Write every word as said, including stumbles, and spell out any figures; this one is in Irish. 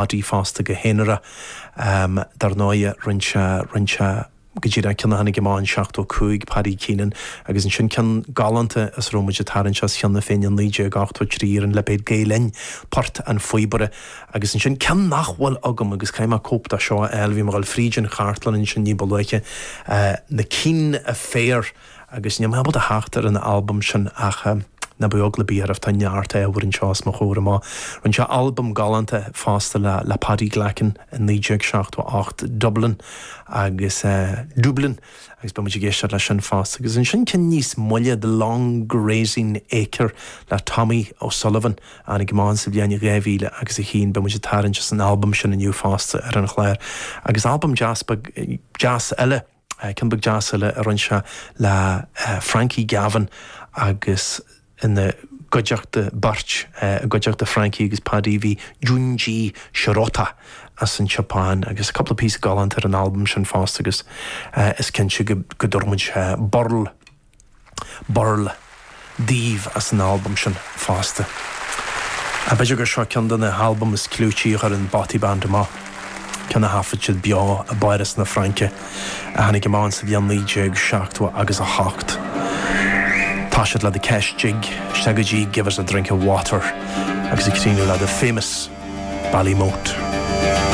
Paddy fosta go haonarach um, dar ndóigh rinne sé rinne sé go dtí an ceann a tháinig amach in seachtó cúig Paddy Keenan agus ansin ceann galánta as raibh muid ag tarraingt as cheana féin in naoi déag ochtó trí ar an lipéad Gael Linn Port an Phíobaire agus ansin ceann nach bhfuil agam agus caithfidh mé cóip de seo a fháil bhí mé ag dul fríd an chartlann ansin ní ba luaithe uh, na Keane Affair agus níl mé ábalta theacht ar an albam sin ach uh, ná bíodh eagla ar bith oraibh tá neart ábhar anseo os mo chomhair amach. Rinne sé albam galánta fosta le, le Paddy Glackin in naoi déag seachtó ocht Dublin agus uh, Dublin agus beidh muid ag éisteacht leis sin fosta, agus ansin ceann níos moille The Long Grazing Acre le Tommy O'Sullivan an gmán sa bhliain dhá mhíle agus a haon beidh muid ag tarraingt as an albam sin inniu fosta ar an chlár. agus albam deas deas eile ceann beag deas eile a rinne sé le uh, Frankie Gavin agus ina gcuideachta beirt i gcuideachta Frankie agus Paddy bhí Junji Shirota as an Japan agus cúpla píosa galánta ar an albam sin fosta agus uh, is cinnte go go dtabharfaidh muid uh, burl burl daoibh as an albam sin fosta. A b'fhéidir gur seo ceann de na halbaim is clúití a chuir an Bothy Band amach. Ceann a thaifead siad beo i bPáras na Fraince a tháinig amach sa bhliain naoi déag seachtó agus a hocht. Tá siad le The Kesh Jig, isteach go dtí Give us a drink of water agus ag críochnú le the famous Ballymote.